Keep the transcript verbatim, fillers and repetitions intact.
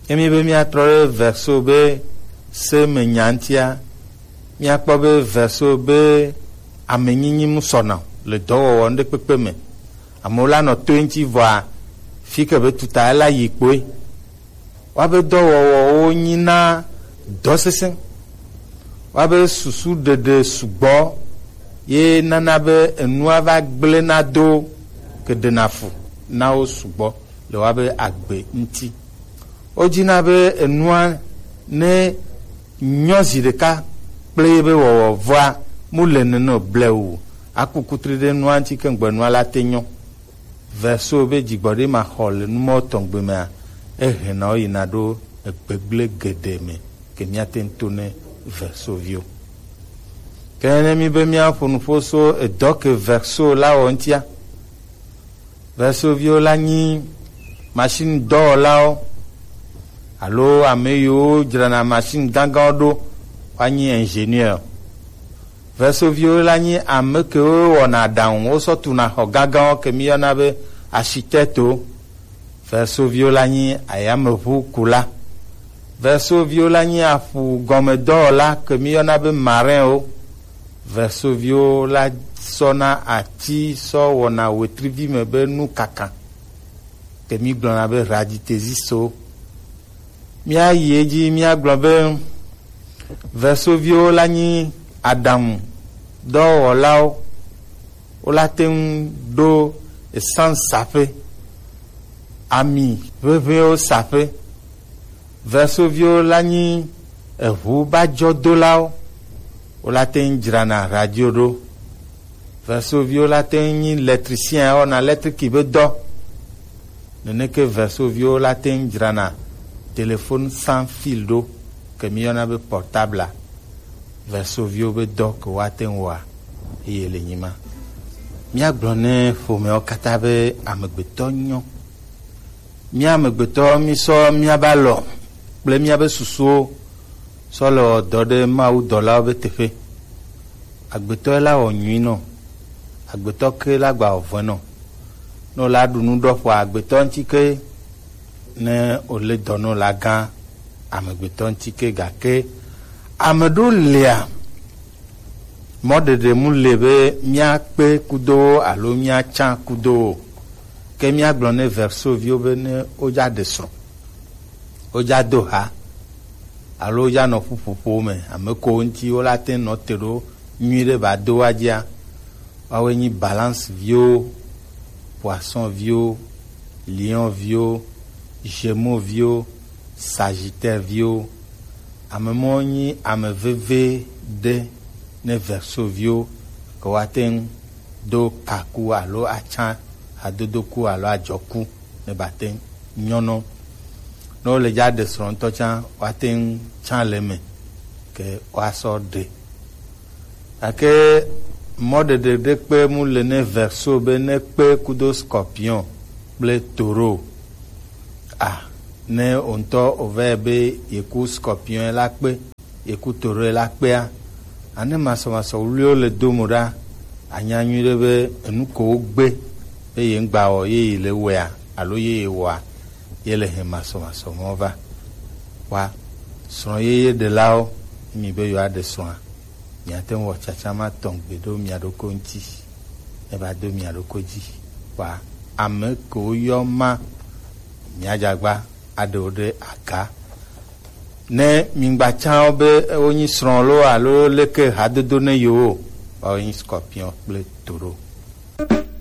Emi be míatrɔ ɖe Verseau be se me nya ŋutia, míakpɔ be Verseau be amenyinyi mu sɔna o le dɔwɔwɔ ŋɖekpekpe me. Amewo la nɔ toe ŋuti vɔa fi ke be tuta la yi kpoe. Woabe dɔwɔwɔwo nyina dɔ sesẽ. Woabe susu ɖeɖe sugbɔ ye nana be enua va gblẽ na do ke ɖena fu na wo sugbɔ le woabe agbe ŋuti. Wodina be enua ne nyɔ zi ɖeka kple ye be wɔwɔ vɔa mu le nene o blewu. Aku kutri ɖe nua ŋuti ke ŋgbe nua la te nyɔ. Verseau be dzigbɔɖi ma xɔ le numɔ tɔgbe mea, ehena wo yina ɖo egbegble geɖe me ke míate ŋu to ne Verseau viwo. Ke ne mi be míaƒo nuƒo so edɔ ke Verseau la wɔ ŋutia, Verseau viwo la nyi machine dɔwɔlawo alo ame yiwo dzrana machine gãgãwo ɖo, woanyi ingénieur. Verseau viwo la nyi ame kewo wɔna aɖaŋu, wosɔ tuna xɔ gãgãwo ke míyɔna be architecte-wo. Verseau viwo la nyi ayameʋukula. Verseau viwo la nyi aƒu gɔme dɔwɔla ke míyɔna be marin-wo. Verseau viwo la sɔna ati sɔ wɔna wetrivi me be nukaka ke mígblɔna be raditezis-wo. Míayi edzi míagblɔ be Verseau viwo la nyi aɖaŋu dɔwɔlawo. Wola te ŋu ɖo essence saƒe, ami ʋeʋẽwo saƒe. Verseau viwo la nyi eʋu bajɔdolawo. Wola te ŋu dzrana radio ɖo. Verseau viwo la te ŋu nyi électricien, wɔna électrique be dɔ. Neneke Verseau viwo la te ŋu dzrana téléphone sans fil ɖo, ke míyɔna be portable-a. Verseau viwo be dɔ ke woate ŋu wɔa, eye le nyi ma. Míagblɔ ne ƒomeawo katã be amegbetɔ nyɔ. Mía amegbetɔ mísɔ míabe alɔ kple míabe susuwo sɔ le wɔ dɔ ɖe mawudɔlawo be teƒe. Agbetɔ la wɔ nyui nɔ, agbetɔ ke la gba wɔ vɔe nɔ. Ne wòla ɖu nu ɖɔ ƒoa agbetɔ ŋuti ke, ne wòle dɔ nɔ la gã amegbetɔ ŋuti ke, gake ame ɖewo lia, mɔɖeɖe mu le be míakpe kudo wo alo míatsã kudo wo. Ke míagblɔ ne Verseau viwo be ne wodza ɖe srɔ̃, wodza do ha, alo wodza nɔ ƒuƒoƒo me, ame ko ŋuti wola te nɔ te ɖo nyui ɖe ba do wa dzia, woawoe nyi Balance viwo, Poisson viwo, Lion viwo, Gémeaux viwo, Sagittaire viwo. Ame mɔ nyi ame veve ɖe ne Verseau viwo ke woate ŋu do kaku alo atsã hadodoku alo adzɔku ne bate ŋu nyɔnɔ. Ne wole dza ɖe srɔ̃ ŋutɔ tsã, woate ŋu tsã le eme ke woasɔ ɖe. Gake mɔɖeɖe ɖe kpe mu le ne Verseau be ne kpe kudo Scorpion kple Taureau. A, ne wò ŋutɔ wòva yi be yeku Scorpion la kpe, yeku Taureau la kpea, ane masɔmasɔ wluiwo le do mo ɖa, anya nyuiɖe be enu ko wogbe be ye ŋgba wɔ ye yi le wɔea alo ye yi wɔa, ye le he masɔmasɔ mɔ va. Wa srɔ̃ yeye ɖelawo, mi be yewoaɖe srɔ̃a, miate ŋu wɔ tsatsa ma tɔgbe ɖo mia ɖokui ŋuti, ne va do mia ɖokui dzi. Wa ame kewo yɔ ma, miadze agba aɖe wo ɖe aga. Ne migba tsã wo be wonyi srɔ̃ lo alo leke hadodo ne yewo, woawo nyi Scorpion kple Taureau.